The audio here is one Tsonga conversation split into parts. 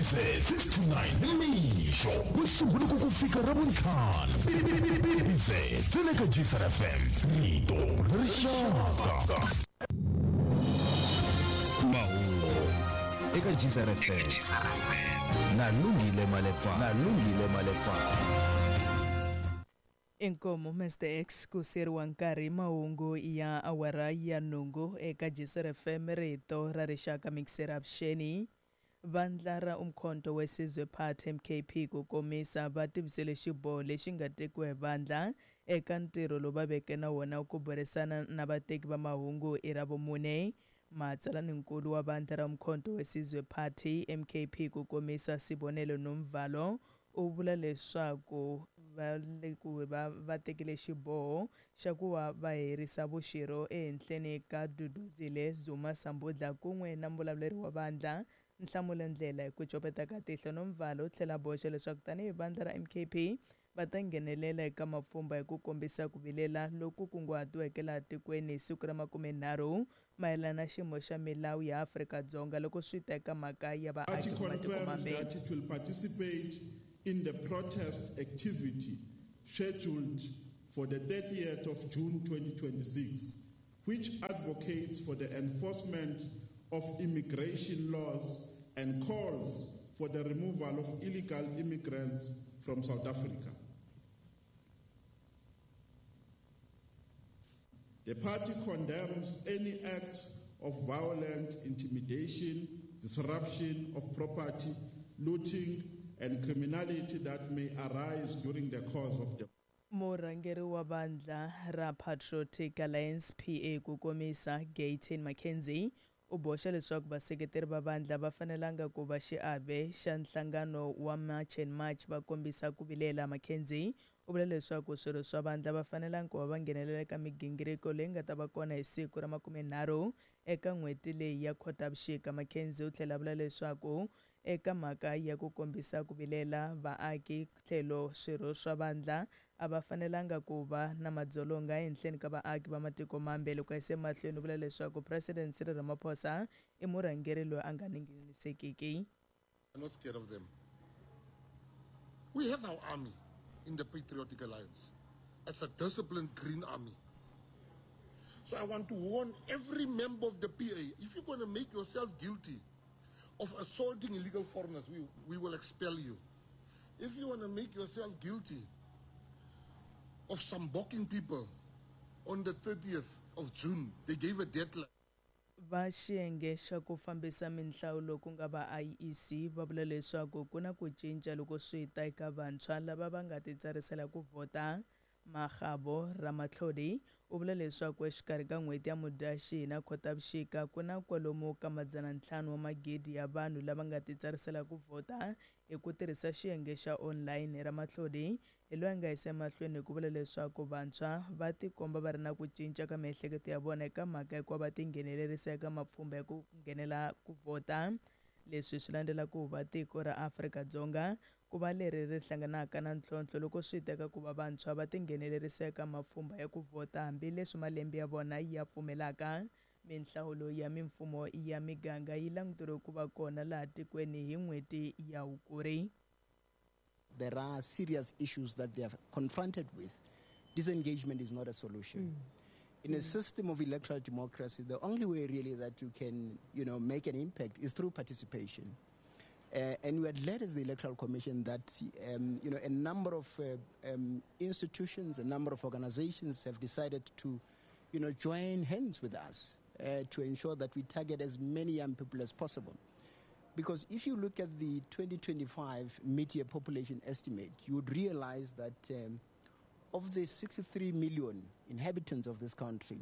BBZ 6 to 9 nimixo ku sungula ku ku fika Ravuntlhanu. BBZ ntsena eka Gcr FM, rito ra rixaka. Mahungu eka Gcr FM na Lungile Malepfana. Na Lungile Malepfana. Inkomu Mr X ku siyeriwa nkarhi mahungu ya awara ya nhungu eka Gcr FM rito ra rixaka mixer avuxeni. Vandla ra Umkhonto weSizwe Party MKP ku komisa va tivisele xiboho lexi nga tekiwa hi vandla eka ntirho lowu va veke na wona ku burisana na vateki va mahungu i Ravumune. Matsalaninkulu wa vandla ra Umkhonto weSizwe Party MKP ku komisa Sibonelo Nomvalo u vula leswaku va le ku va va tekile xiboho xa ku va va herisa vuxirho ehenhleni ka Duduzile Zuma Sambudla kun'we na muvulavuleri wa vandla Nhlamulo Ndlela hi ku copeta ka tihlo. Nomvalo u tlhela a boxa leswaku tanihi vandla ra MKP va ta nghenelela eka mapfhumba hi ku kombisa ku vilela loku kunguhatiweke laha tikweni hi siku ra makumenharhu mayelana na xiyimo xa milawu ya Afrika-Dzonga loko swi ta eka mhaka ya Party vaaki va matiko confirms mambe. that it will participate in the protest activity scheduled for the 30th of June 2026, which advocates for the enforcement of immigration laws and calls for the removal of illegal immigrants from South Africa. The party condemns any acts of violent intimidation, disruption of property, looting, and criminality that may arise during the course of the Murhangeri wa vandla ra Patriotic Alliance PA ku komisa Gayton McKenzie u boxa leswaku vaseketeri va vandla va fanelanga ku va xiave xa nhlangano wa March and March va kombisa ku vilela. McKenzie u vula leswaku swirho swa vandla va fanelanga ku va va nghenelela eka migingiriko leyi nga ta va kona hi siku ra makumenharhu eka n'hweti leyi ya Khotavuxika. McKenzie u tlhela a vula leswaku eka mhaka ya ku kombisa ku vilela vaaki tlhelo swirho swa vandla a va fanelanga ku va na madzolonga ehenhleni ka vaaki va matiko mambe. Loko a yise mahlweni u vula leswaku President Cyril Ramaphosa i murhangeri loyi a nga ningisekiki. I'm not scared of them. We have our army in the Patriotic Alliance. It's a disciplined green army. So I want to warn every member of the PA, if you're going to make yourself guilty of assaulting illegal foreigners, we will expel you. If you want to make yourself guilty of samboking people on the 30th of June, they gave a deadline. Va xiyenge xa ku fambisa minhlawulo ku nga va IEC va vula leswaku ku na ku cinca loko swi ta eka vantshwa lava va nga titsarisela ku vhota. Makgabo Ramatlhodi u vula leswaku exikarhi ka n'hweti ya Mudyaxihi na Khotavuxika ku na kwalomu ka madzana ntlhanu wa magidi ya vanhu lava nga titsarisela ku vhota hi ku tirhisa xiyenge xa online. Ramatlhodi hi loyi a nga yisa emahlweni hi ku vula leswaku vantshwa va tikomba va ri na ku cinca ka miehleketo ya vona eka mhaka hikuva va tinghenelerisa eka mapfhumba ya ku nghenela ku vhota. Leswi swi landzela ku va tiko ra Afrika-Dzonga ku va leri ri hlanganaka na ntlhontlho loko swi teka ku va vantshwa va tinghenelerisa eka mapfhumba ya ku vhota hambileswi malembe ya vona ya pfumelaka. Minhlawulo ya mimfumo ya miganga yi languteriwe ku va kona laha tikweni hi n'hweti ya Hukuri. There are serious issues that they are confronted with. Disengagement is not a solution. In a system of electoral democracy, the only way really that you can, make an impact is through participation. And we are glad as the Electoral Commission that, a number of institutions, a number of organizations have decided to, join hands with us to ensure that we target as many young people as possible. Because if you look at the 2025 mid-year population estimate, you would realize that of the 63 million inhabitants of this country,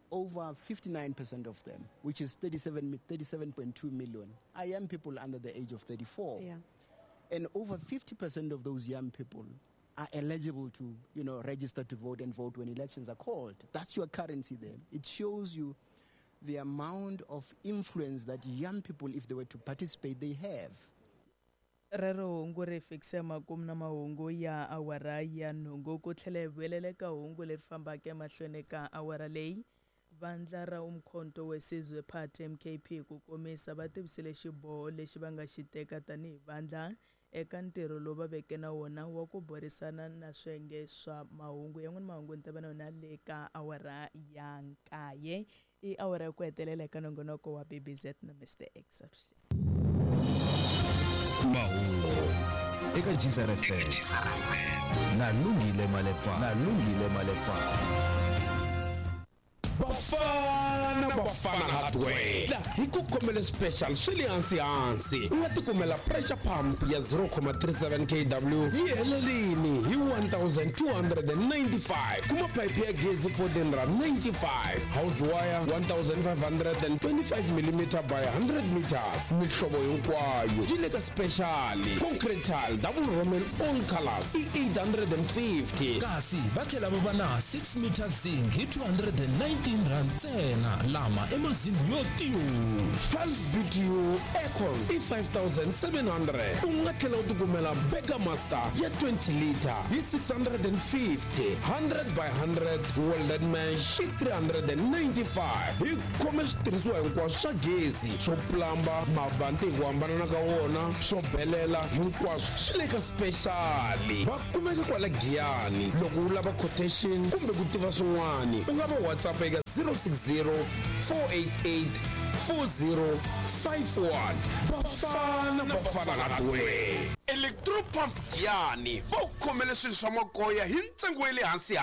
over 59% of them, which is 37.2 million, are young people under the age of 34. And over 50% of those young people are eligible to, register to vote and vote when elections are called. That's your currency there. It shows you the amount of influence that young people, if they were to participate, they have. Rero hungu ri fikise makumu na mahungu ya awara ya nhungu ku tlhela hi vuyelela eka hungu leri fambaka emahlweni ka awara leyi. Vandla ra Umkhonto weSizwe Party MKP ku komisa va tivisile xiboho lexi va nga xi teka tanihi vandla eka ntirho lowu va veke na wona wa ku burisana na swiyenge swa mahungu. Yan'wana mahungu ni ta va na yona le ka awara ya nkaye. I awara ya ku hetelela eka nongonoko wa BBZ na Mr Exception. Mahungu eka Geyser FM na Lungile Malepa na Lungile Malepa. Bafana Bafana Hardware la hi ku khomele special swi le hansi hansi u nga tikumela pressure pump ya 0,37 kW yi helelini hi 1295 kuma phayiphi ya gezi 1495 house wire 1525 mm by 100 meters mihlovo hinkwayo yi le ka special concrete tile double roman all colors i 850 Kasi va tlhela va va na 6 meter zinc hi 219 rand ntsena lama i mazingi yo tiyu. 12 BTU aircon i 5700 u nga tlhela u tikumela Burger Master ya 20 liter hi 650 100 by 100 welded mesh i 395 hi khome switirhisiwa hinkwaswo swa gezi swo plamba mavanti hi ku hambanana ka wona swo belela hinkwaswo swi le ka special va kumeka kwala Giyani loko u lava quotation kumbe ku tiva swin'wana u nga va WhatsApp eka 060 488 4051 Bafana Bafana Hardware Electropump Giyani va ku khomele swilo swa makoya hi ntsengo wa le hansi.